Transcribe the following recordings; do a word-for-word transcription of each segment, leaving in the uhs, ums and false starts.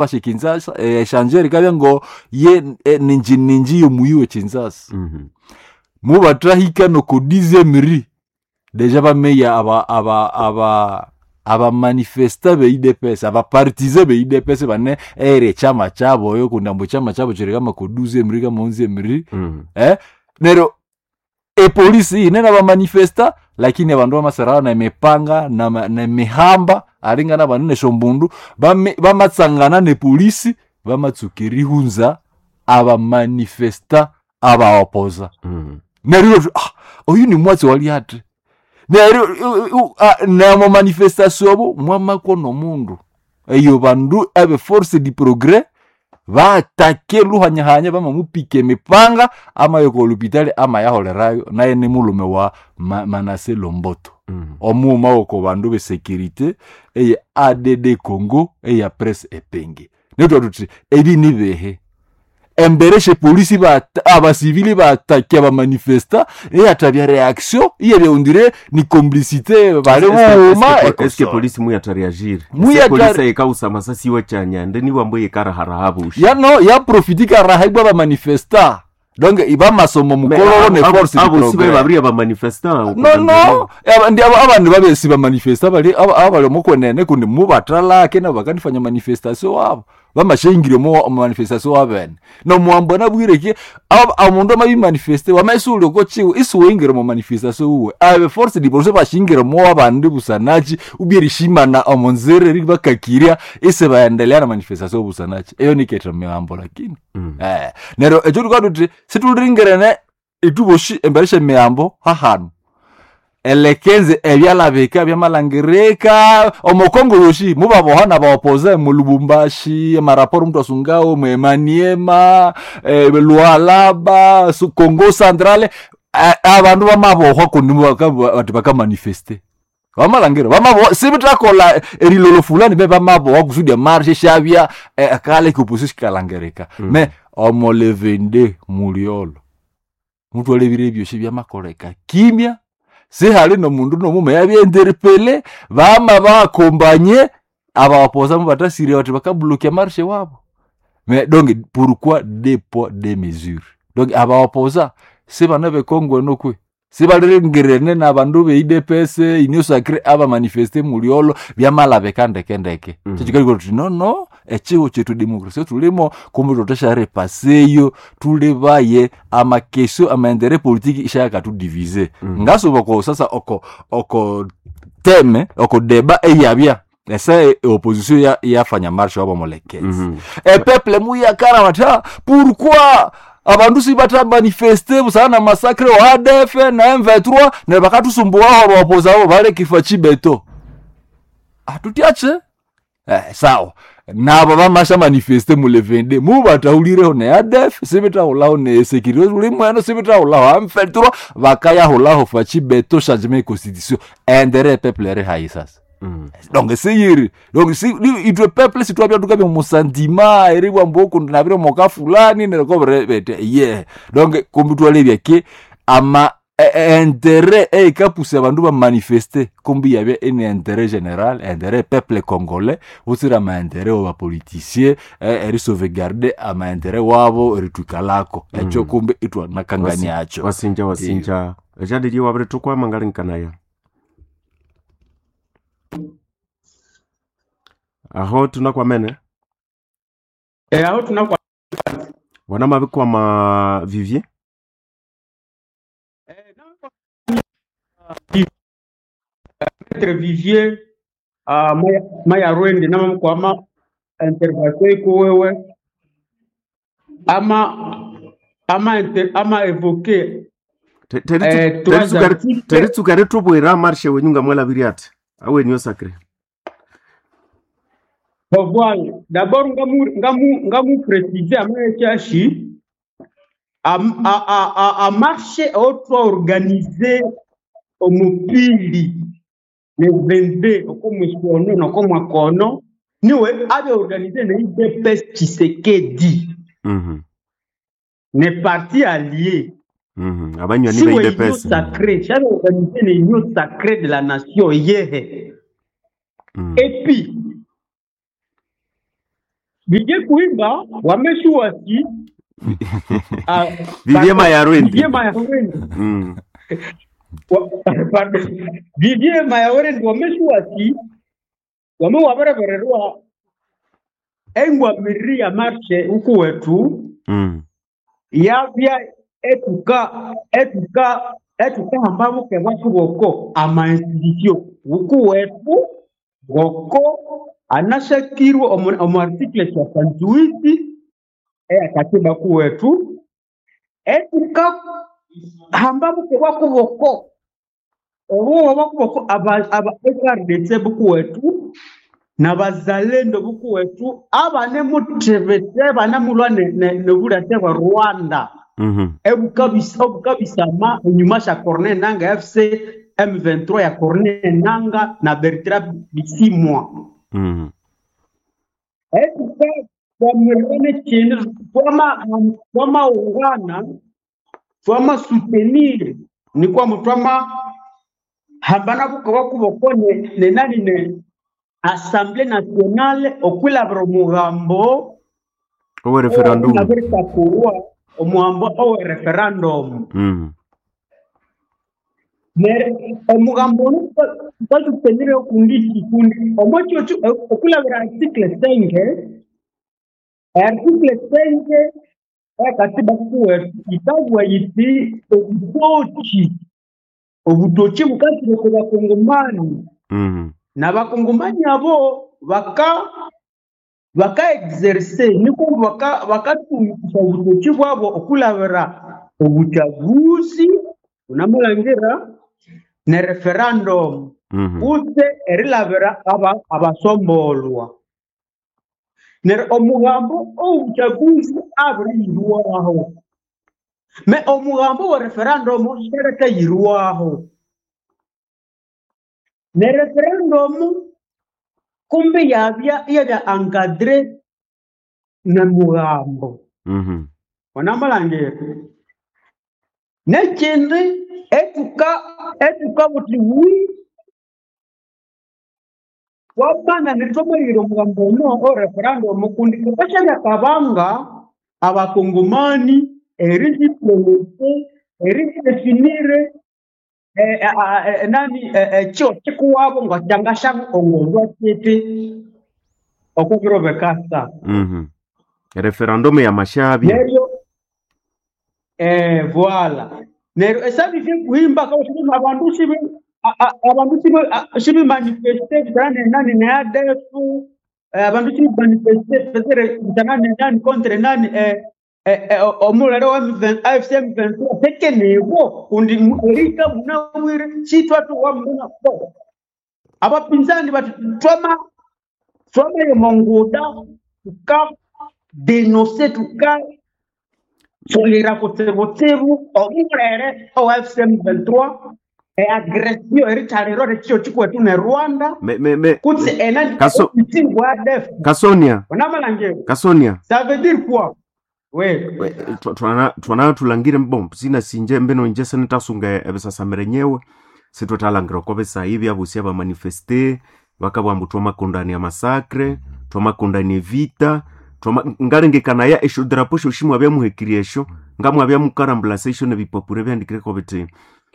Bashe Kinshasa échangeur ikabya ngo ye eh, ninji ninji yomuyi we Kinshasa. Mhm. Mubatrahika noko dixième rue déjà bameya aba aba aba abamanifesta be U D P S, abapartisan be U D P S bane ere chama chabo oyo kundambo chama chabo chiri kama ko douzième rue kama onzième rue. Mhm. Eh, nero epolisi inene abamanifesta, lakini abandu bamasarara na emipanga na, ma- na emihamba alingana bandu neshombundu bame- bamatsangana nepolisi bamatsuka erihunza abamanifesta abaopoza. Mhm. Neryo ah, oyu ni mwatsi wali ati neryo u- u- ah, namo manifestation abo mwamakwo nomundu eyo bandu abe force du progrès batake luhanyahanya bamamupika emipanga amayo ko lupitali amayaholerayo naye ni mulume wa Ma Manase Lomboto. Mhm. Omuuma woko bandu besécurité eye A D D Congo eya presse epenge netwa tuti ebi ni behe embere polisi bata- abasivili batake abamanifesta eyatabya réaction iyebya ni complicité bali buuma. Eske polisi muyatareagir? Muyatare- Polisi yikausa masasi iwe chanyande niwambo yikaraharahabusha. Ya no yaprofitika rahaibwa bamanifesta donc ibamasomo mukololo ne force du abo sibe progrès. babiri abamanifesta. No no aba- ndi aba- abandu babesi bamanifesta bali aba- abali omukwenene kundi mubatalake nabo bakanifanya manifestation wabo bamashengire omu manifestation wabene nomuhambo nabwireki omundu amabimanifeste wamaisuli okochiwe isiwingire mu manifestation uwe abe force du progrès bashingire mo abandi busanachi ubyerishimana omunzira eri bakakiria ise baendelea na manifestation busanachi eyo niketra mihambo lakini. Mm. Eh, neryo ekyo tukabya tuthi situlingerene ituboshi embere syemihambo hahanu elekenze ebyalabika byamalangirika omukongo yoshi mubaboha nabaopoze mu Lubumbashi amaraporo mtu asungawo mu Maniema, eh, Lualaba su- Congo Centrale, eh, abandu bamabohwa kundi baka- bati bakamanifeste bamalangira bamabohwa sibitakola erilolo fulani be bamabohwa kusudi emarshe syabya eh, kale kupusi sikalangirika. Mm. Me omolevende muliolo mutwalebire ebyosi byamakoleka kimya sihali nomundu nomume yabyenterpele bama bakombanye abawapoza mubatasire bati bakablokia marshe wabo. Mais donc pourquoi deux poids deux mesures? Donc abawapoza sibana bekongwe nokwe sibalirengirene nabandu be U D P S union sacrée abamanifeste muliolo byamalabeka ndekendeke. Mm. Kyekikaliko tuti no no ekiho kyetu demokrasia tulimo kumbe tutesharepaseyo tulibaye amakesio amaendere politiki ishayakatudivise. Mm. Ngasuba ko sasa oko oko teme oko deba eyabya ese opposition ya yafanya marshe wabo molekezi. Mhm. Epeple muyakara bata pourquoi abandu sibata manifeste busana na massacre wa A D F na M vingt-trois ne bakatusumbuwaho abapoza abo bale kifa chibeto atutiache eh, sawa nabo bamasha manifeste mule vingt-deux mubataulireho ne A D F sibitahulaho ne sécurité uli mweno sibitahulaho M vingt-trois bakayahulaho Fatshi Béton changement constitution intérêt peuple eri hayi sasa. Mm. Donc siyiri donc si ni- itwe peuple sitwabya tukabya musandima eri bwambo kundi nabire moka fulani nereko bete ye donc kumbi twalebya ke ama e- e- intérêt eikapusa abandu bamanifeste kumbi yabya ene intérêt général, intérêt peuple congolais utsira ama intérêt wa bapoliticien eh, eri sauvegarder ama intérêt wabo eritwikalako ekyo kumbi itwanakangania acho. Wasinja wasinja ejadili wabire tukwama ngalinkanaya aho tunakwamene. Eh, aho tunakwa Wana mabikwama Vivier. Eh, Maître Vivier uh, maya, maya rwende namamkwama intervention ikuwewe ama ama inter, ama évoqué Te- teri eh, tu- trois teri tsukari- articles. teri tsukari tubwira marshe wenyu ngamwalabiri ati awenyu sacre. Bon, voilà. D'abord ngamu ngamu ngamu préciser ama a, a, a, a, a marche otwa organisé omupili le vingt-deux okomwisono nokomwakono niwe abe organisé na U D P S Tshisekedi Mhm, ne parti allié mhm. Abanywani si ba we union U D P S. sacrée j'avais organisé l'union sacrée de la nation yehe. Mm. Et puis Vivie Kuhimba wameshuwasi ah, Vivie pardon, Mayarwendi. Vivie Mayarwendi Mm. Wa- pardon, Vivie Mayarwendi wameshuwasi wame waberebererwa engwamiriri ya marshe huku wetu Mm. yabya etuka etuka etukahamba buke bwathu boko ama institution huku wetu boko anashakirwe omu omu article soixante-huit eya katiba kuwetu etuka hamba buke bwakuboko obuwa bwakuboko aba aba F R D C bukuwetu nabazalendo bukuwetu abane mutebete banamulwa nobulate bwa Rwanda Mhm. ebukabisa obukabisama enyuma sya Corneille Nangaa F C M vingt-trois ya Corneille Nangaa na Bertrand Bisimwa Mhm. etuka twamirane chindi twama twamaungana twama soutenir ni kwamba twama hambana bukoba kuboko ne, ne nani ne Assemblée nationale okwilabira omugambo Owe referendum. owabiritakurwa omugambo owe referendum Mm. Nere omugambo ono twasutenire okundi kikundi omwekyo okwilabira article cinq article cinq ekatiba kuwetu ikabwa yiti obutoki obutoki bukasire ku bakongomani Mm. n'abakongomani abo baka baka exerce niko baka bakatumikisa obutoki bwabo okulabira obuchaguzi unamulangira ne referendum Mhm. kutse erilabira aba abasombolwa neryo omugambo obuchaguzi abiriyirwaho me omugambo wa referendum siarakayirwaho ne referendum kumbe yabya iyabya encadré na mugambo Mhm. onamulangira nekindi etuka etuka buti wi wabana nithomerire omugambo ono o referendum kundi kukashabya kabanga abakongomani eriziprononse erizidefinire eh, eh, eh, nani eh, eh, kyo kikuwabo nga kyangashaongozwa kiti okubiro bekasa Mhm. Referendum ya mashabya. neryo eh, voila neryo esabivye kuhimba kawasibima abandu sibi a- a- abandu sibi a- sibi manifeste bitana nani ne A D F eh, abandu sibi manifeste petere bitana nani contre nani eh, eh, eh, omulere wa M V A F C M vingt-trois tekenibwo kundi erika munawire sitwatu wa muna abapinzani bati twama twameye monguda tuka denonse tuka solera kutsibutsibu omulere owa F C M vingt-trois eagresio erithalirwa rekio kikwethu ne Rwanda Me me me kutse ena Kaso omusingi wa A D F Kasonia. onamalangiro Kasonia. ça veut dire quoi we We- twa- twana twana tulangire mbombo sina sinje mbeno nje senetasunga ebisasamire nyewe sitwethalangira oko bisayi byabusi abamanifeste bakabugha ambu twamakondania masakre twamakondania evita twama ngalengekanaya esyo drapo syosi mwabyamuhekirya esyo ngamwabyamukarambulasa esyo nebipapuro ebyandikireko bithi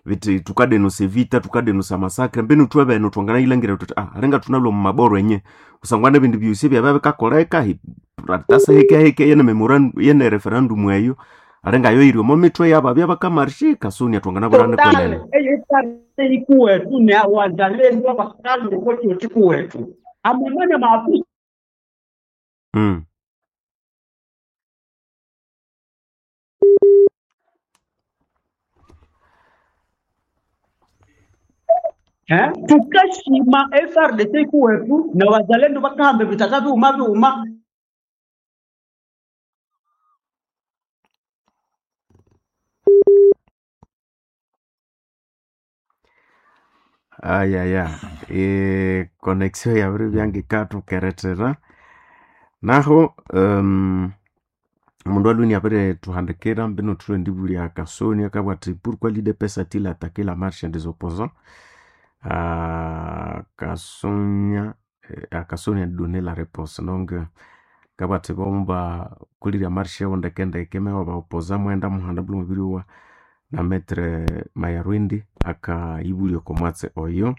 bithi tukadenusa evita tukadenusa masakre mbinu thwe beno twanganayilangira thuthi ah alinga thunalwa mu maboro enye kusangwa nebindu byosi ebyabya bikakoleka hi- tasa hekeheke yene memorandum yene referendum eyo alinga yo iri omo mitwe yababya bakamarshe kasonia twanganabulana total kwenene eyitale ikuwethu ne wazalendo abakalwe kokio kikuwethu amamanya maafisa mm. eh tukashima F R D C ikuwethu na wazalendo bakahamba bitaka biuma biuma ayaya e, connexion yabiri byangikathukerethera naho um, omundu alweni abirithuhandikira mbino thulwe ndibulya kasonia akabugha athi pourquoi l'U D P S a-t-il attaqué la marche des opposants. Ah, Kasonia eh, Kasonia donné la réponse donc euh, Kabati bomba kulirya marshe wo ndekendeke mewa baopoza mwenda muhanda buli mubiri wa na metre Mayarwindi akayibulya oko mwatsi oyo.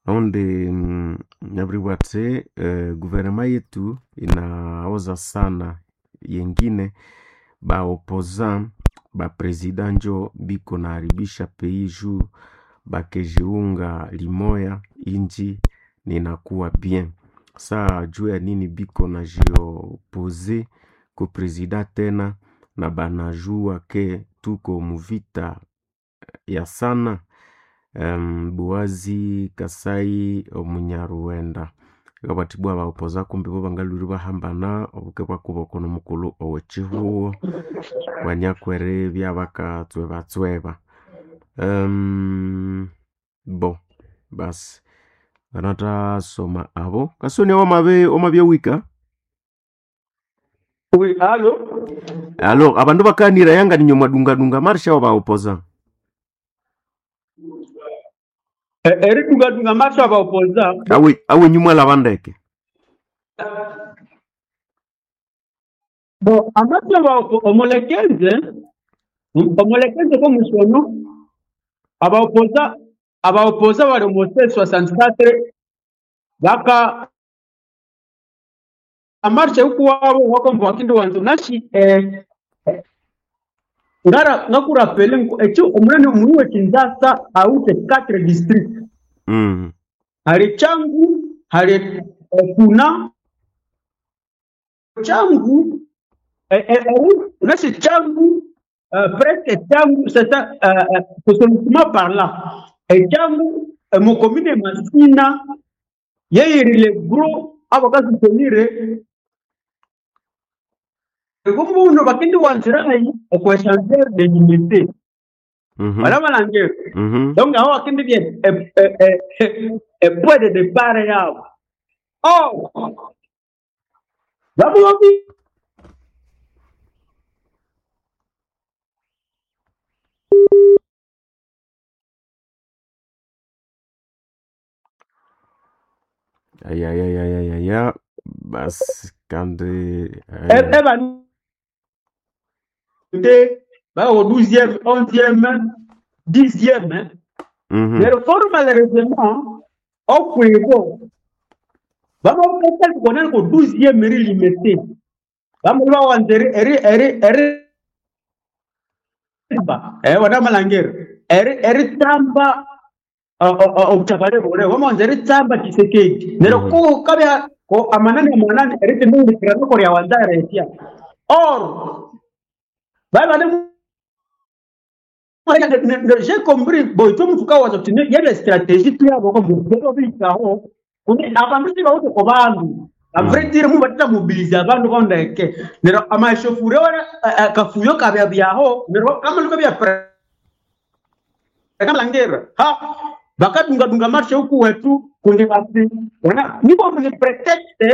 Naundi mm, nabiribwa ati eh, guvernema yetu inaoza sana yengine baopoza bapresida njo biko naharibisha pays juu bakejiunga limoya inji ninakuwa bien saa juu ya nini biko najiopose ku presida tena na banajua ke tuko muvita ya sana um, Buwazi Kasai omunyaruwenda kabatibwa baopoza kumbi bo bangalwire bahambana obuke bwakuboko nomukulhu owekihuho kwanyakwere byabakatswebatsweba um, bo basi nganathasoma abo kasonia wamabe wamabyawika Oui, allo? alo abandu bakanira yanga ninyo mwadungadunga marsha wabaopoza Eh, Eridungadunga marsha abaopoza awe awe nyumwa labandeke bo amasha abaopo omulekenze omulekenze komusono abaopoza abaopoza bali omu soixante-quatre baka amarsha ukuwabo wakomba wakindi wanzo nashi eh, ngara ngakurapele ekyo omunene omunu w'ekinzasa awute quatre district mm. hari Changu hari eh, Kuna Changu eh, eh, eh, nashi Changu euh, presque Changu c'est ça euh, euh, sociologiquement parlant et Changu eh, mu commune Masina yeyirile gros abakasutenire kumbuno bakindi wanzirayi okweshanzer de unité mm -hmm. wala malange mm -hmm. donc aho bakindi bien e, e, e, e point de départ yabo oh babubi ayayayayaya basi kandi eh, eba de ba au douzième onzième dixième hein. mhm. Mais réforme malheureusement okwego bamapesa konani ko douzième eri limité bamuli bawanza eri eri eri eri ba eh wana malangeri eri eri tamba obutabale bule bamanza eri tamba Tshisekedi nero Mhm. ko kabya ko amanani amanani eri timundikira ko lya wanza retia or baba ne j'ai compris bon ito mutuka waza kuti yebe stratégie tu yabo ko mutero bikaho kuni abantu sibawuti ko bandu a vrai dire mu batita mobiliser abantu kondeke nero amashofure ora kafuyo kabya byaho nero kama luko bya kamalangera ha bakadungadunga marshe huku wetu kundi basi ona niko ni prétexte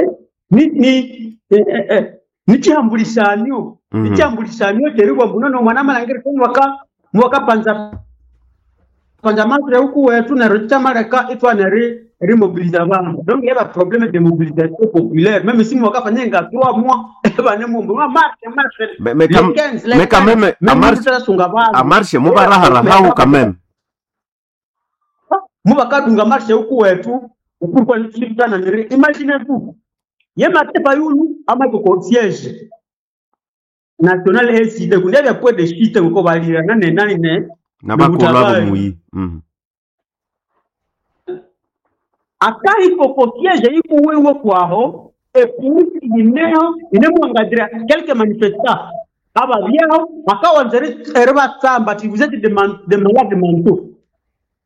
ni ni eh, eh, eh, nichihambulisanyo Mhm. nichihambulisanyo cheribwa mbuno mwana malangera ko mwaka mwaka panza panza marshe huku wetu nero chamaleka itwa neri rimobiliza abantu donc il y a problème de mobilisation populaire même si mwaka fanyenga trois mois bane mumbu marche marche Me- me le kam- quinze le me quand quinze même même amarche mutasunga bantu amarshe mubaraharahaho quand même mubakadunga marshe huku wetu ukurwa nitana niri imagine tu ye matepa yulu ama ko siège national A C D kundi bya point de chute uko balira nane nane ne nabakolwa nobutabali bomuyi mm. akahi koko siège ikuwiwe kwaho epusi ineho inemwangadira quelques manifestants ababyaho bakawanza eri batsamba ati vous êtes des man- des malades mentaux